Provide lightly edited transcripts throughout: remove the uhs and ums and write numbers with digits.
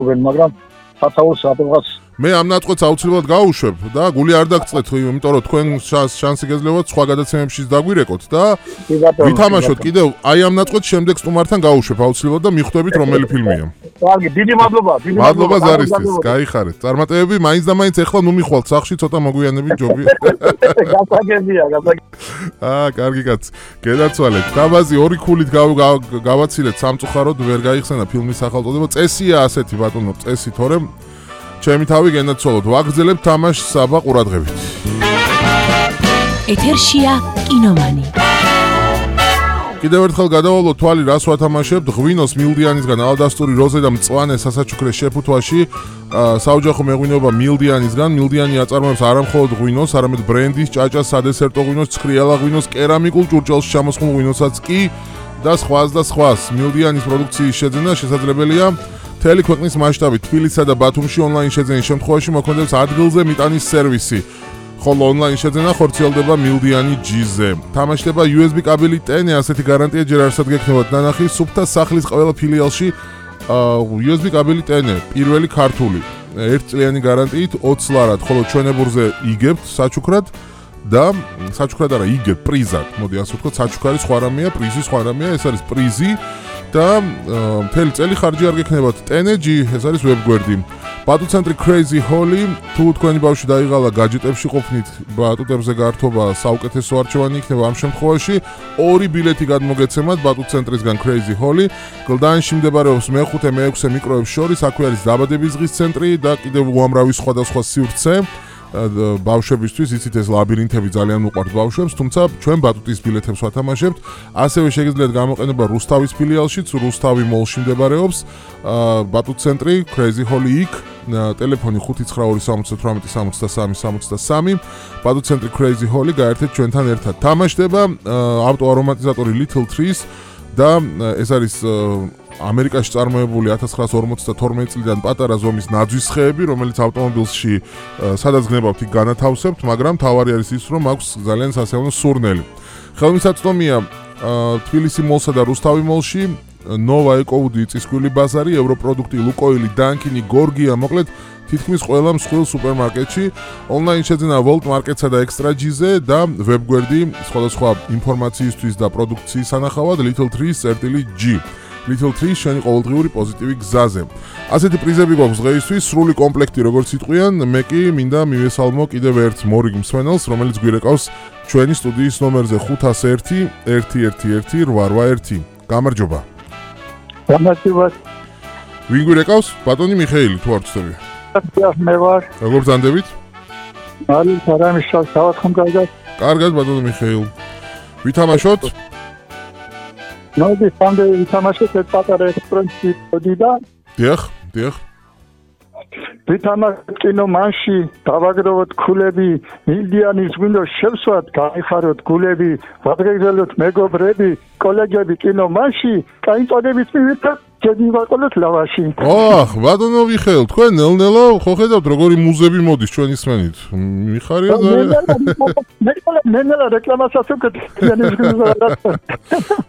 მაგრამ სათაურს აპრობას მე ამ ნაწყვეტს აუცილებლად გავუშვებ და გული არ დაგწყეთ, იმიტომ რომ თქვენ შანსი გეძლევათ სხვა გადაცემებშიც დაგვირეკოთ და ვითამაშოთ კიდევ აი ამ ნაწყვეტს შემდეგ სტუმართან გავუშვებ აუცილებლად და მიხვდებით რომელი ფილმია. კარგი, დიდი მადლობა, მადლობა ზარისთვის, გაიხარეთ. წარმატებები, მაინც და მაინც ეხლა ნუ მიხვალთ სახში, ცოტა მოგვიანებით ჯობია. გასაგებია. კარგი კაცი. გედაცვალეთ. დაბაზი 2 ქულით გავაცილეთ სამწუხაროდ ვერ გაიხსენა ფილმის სახელწოდება. წესია ასეთი ბატონო, წესი თორემ ჩემი თავი გენაცვალოთ. ვაგრძელებთ თამაშს საბა ყურადღებით. ეთერშია კინომანი. კიდევ ერთხელ გადავალოთ თვალი რას ვათამაშებთ. ღვინოს მილდიანისგან ალდასტური როზე და მწვანე სასაჩუქრე შეფუთვაში საოჯახო მეღვინეობა მილდიანისგან. მილდიანი აწარმოებს არა მხოლოდ ღვინოს, არამედ ბრენდის, ჭაჭას, სადესერტო ღვინოს, ცხრიალა ღვინოს, კერამიკულ ჭურჭელში ჩამოსხმულ ღვინოსაც კი და სხვას. მილდიანის პროდუქციის შეძენა შესაძლებელია მთელი ქვეყნის მასშტაბით. თბილისსა და ბათუმში ონლაინ შეძენის შემთხვევაში მოქმედებს ადგილზე მიტანის სერვისი. ხოლო ონლაინ შეძენა ხორციელდება მილდიანი G-ზე. თამაშდება USB კაბელით ტენე, ასეთი გარანტია ჯერ არსად გექნებათ ნანახი სუფთა სახლის ყველა ფილიალში USB კაბელით ტენე, პირველი ქართული. 1 წლიანი გარანტიით 20 ლარად, ხოლო ჩვენებურზე იგებთ საჩუქრად და საჩუქრად არა, იგებთ პრიზად. მოდი ასე ვთქვათ, საჩუქარი სხვა რამეა, პრიზი სხვა რამეა, ეს არის პრიზი და მთელი წელი ხარჯი არ გექნებათ. ტენეჯი, ეს არის ვებგვერდი. ბატუტცენტრი Crazy Holly, თუ თქვენი ბავშვი დაიღალა გაჯეტებში ყოფნით, ბატუტებზე გართობა საუკეთესო არჩევანი იქნება ამ შემთხვევაში. 2 ბილეთი გადმოგეცემათ ბატუტცენტრისგან Crazy Holly. გლდანში მდებარეობს მე-5, მე-6 მიკროებს შორის, აქვე არის დაბადების დღის ცენტრი და კიდევ უამრავი სხვადასხვა სივრცე. ბავშვებისთვის იცით ეს ლაბირინთები ძალიან უყვართ ბავშვებს, თუმცა ჩვენ ბატუტის ბილეთებს ვათამაშებთ. ასევე შეგიძლიათ გამოყენება რუსთავის ფილიალშიც, რუსთავი მოლში მდებარეობს ბატუტცენტრი Crazy Holly იქ, ტელეფონი 592786363. ბატუტცენტრი Crazy Holly გაერთეთ ჩვენთან ერთად. თამაშდება ავტოარომატიზატორი Little Trees და ეს არის ამერიკაში წარმოებული 1952 წლიდან პატარა ზომის ნაძვის ხეები, რომელიც ავტომობილში სადაც გნებავთ იქ განათავსებთ, მაგრამ თავარი არის ის, რომ აქვს ძალიან სასიამოვნო სურნელი. ხელმისაწვდომია თბილისი მოლსა და რუსთავი მოლში, ნოვა ეკოუდი, წისქვილი ბაზარი, ევროპროდუქტი, ლუკოილი, დანკინი, გორგია, მოკლედ თითქმის ყველა მსხვილ სუპერმარკეტში. ონლაინ შეძენა Volt Market-სა და Extra G-ზე და ვებგვერდი სხვადასხვა ინფორმაციისთვის და პროდუქციის სანახავად Little Trees G. Little Trees შენი ყოველდღიური პოზიტივი გზაზე. ასეთი პრიზები გვაქვს დღეისთვის, სრული კომპლექტი როგორც იტყვიან, მე კი მინდა მივესალმო კიდევ ერთ მორიგ მსმენელს, რომელიც გვირეკავს ჩვენი სტუდიის ნომერზე 501 111 გამარჯობა. გამარჯობა. ვინ გვირეკავს? ბატონი მიხეილი თუ არ ვცდები. მე ვარ. როგორ ბრძანდებით? არის არამიშალ დავათხომ კარგად. კარგად ბატონი მიხეილ. ვითამაშოთ? ნოდი სამდე ვითამაშოთ ეს პატარა ექსპრესი და დიახ. ვითამაშოთ კინომანში, დავაგროვოთ ქულები, მილდიანის ღვინოს შევსვათ, გაიხაროთ გულები, ვადრეგზელოთ მეგობრები, კოლეგები კინომანში, კაინწოდებით მივიდეთ ჯედივაყოლოთ ლავაში. ბატონო მიხეილ, თქვენ ნელ-ნელა ხო ხედავთ როგორი მუზები მოდის ჩვენ ისმენით. მიხარია ძალიან. ნელ-ნელა რეკლამასაც ვკეთებ.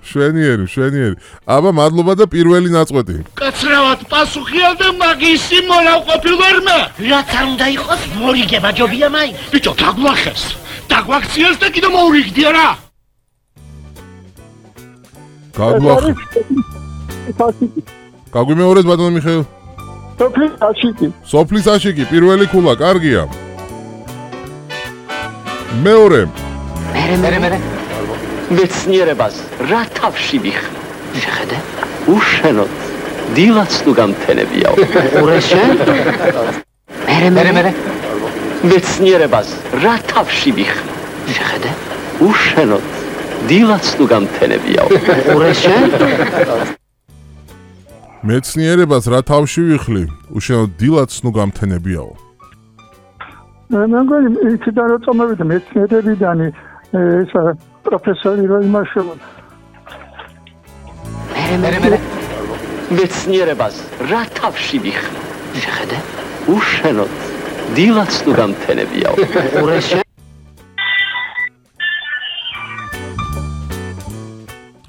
შვენიერი. აბა მადლობა და პირველი ნაწყვეტი. კაცრავად პასუხია და მაგისი მონავყოფილვარ მე. რაც არ უნდა იყოს მორიგება ჯობია მაინც. ბიჭო, დაგვახეს. დაგვაქციეს და კიდე მოურიგდია რა. გაგვახეს. გაგვიმეორეთ ბატონო მიხეილ. სოფლის აშიკი, პირველი ქულა, კარგია. მეორე. მე. მეცნიერებას რა თავში ვიხრი. შეხედე? უშენოდ. დილაც თუ გამთენებიაო. ურეშე? მე. მეცნიერებას რა თავში ვიხრი. შეხედე? უშენოდ. დილაც თუ გამთენებიაო. ურეშე? მეცნიერებას რა თავში ვიხლი? უშენოდ დილაც ნუ გამთენებიაო. მე მგონი იქიდან რო წამოვიდა მეცნიერებიდან ეს პროფესორი რო იმაშოვა. მე. მეცნიერებას რა თავში ვიხლი? შეხედე? უშენოდ. დილაც თუ გამთენებიაო. ურეშე?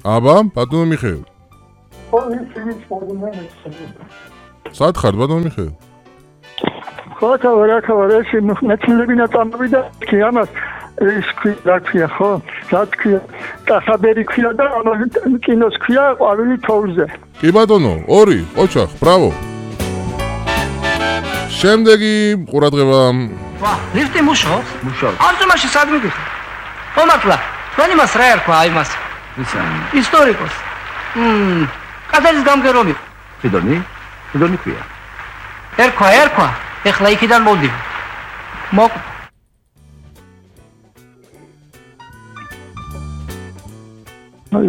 აბა, ბატონო მიხეილ. სად ხარ ბატონო მიხეილ? ხოქავარ ეს მეცნიერებინა წამოვიდა კი ამას ის რა ქვია ხო? რა ქვია? კახაბერი ქვია და ამას კინოს ქვია ყვავილი თოვლზე. კი ბატონო, 2, ოჩახ, ბრავო. შემდეგი ყურადღება. ვა, ლიფტი მუშაობს? მუშაობს. ანტომაში სად მიდიხარ? ხომაკლა, თქვენი მას რა ერქვა აი მას? ისა? ისტორიკოს. კათერის გამგერომი. ფიდონი ქვია. ერქვა. ეხლა იქიდან მოვდივარ.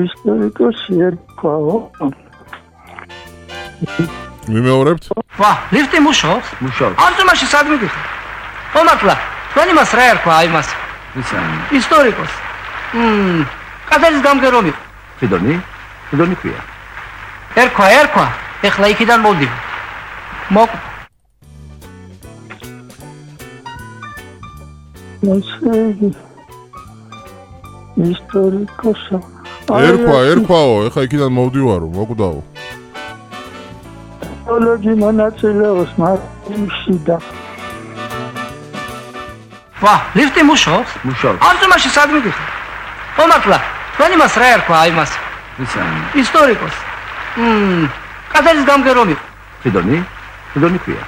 ისტორიკოსი ერქვაო. მიმეორებთ? ვა, ლიფტი მუშაობს? მუშაობს. ანტომაში სად მიდიხარ? ხომაკლა, თქვენი მას რა ერქვა აი მას? ისა? ისტორიკოს. კათერის გამგერომი. ფიდონი ქვია. ერქვა. ეხლა იქიდან მოვდივარ. ისტორიკოსი. ერქვაო, ეხა იქიდან მოვდივარო, მოკვდაო. ოლოგი მონაწილეობს მარტინში და ვა, ლიფტი მუშაობს? მუშაობს. ანტომაში სად მიდიხარ? ხომაკლა, თქვენი მას რა ერქვა აი მას? ისა? ისტორიკოს. კათერის გამგერომი. ფიდონი ქვია.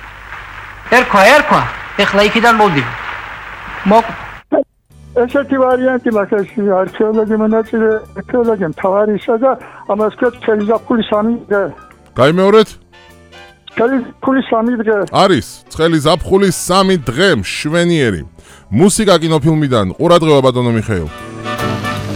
ერქვა. ეხლა იქიდან მოვდივარ. ესეთი ვარიანტი მაქვს არქეოლოგი მონაწილე არქეოლოგი მთავარისა და ამას ქვია წელი ზაფხული 3 დღე. გაიმეორეთ? წელი ზაფხული 3 დღე. არის წელი ზაფხული 3 დღე მშვენიერი. მუსიკა კინოფილმიდან ყურადღება ბატონო მიხეილ.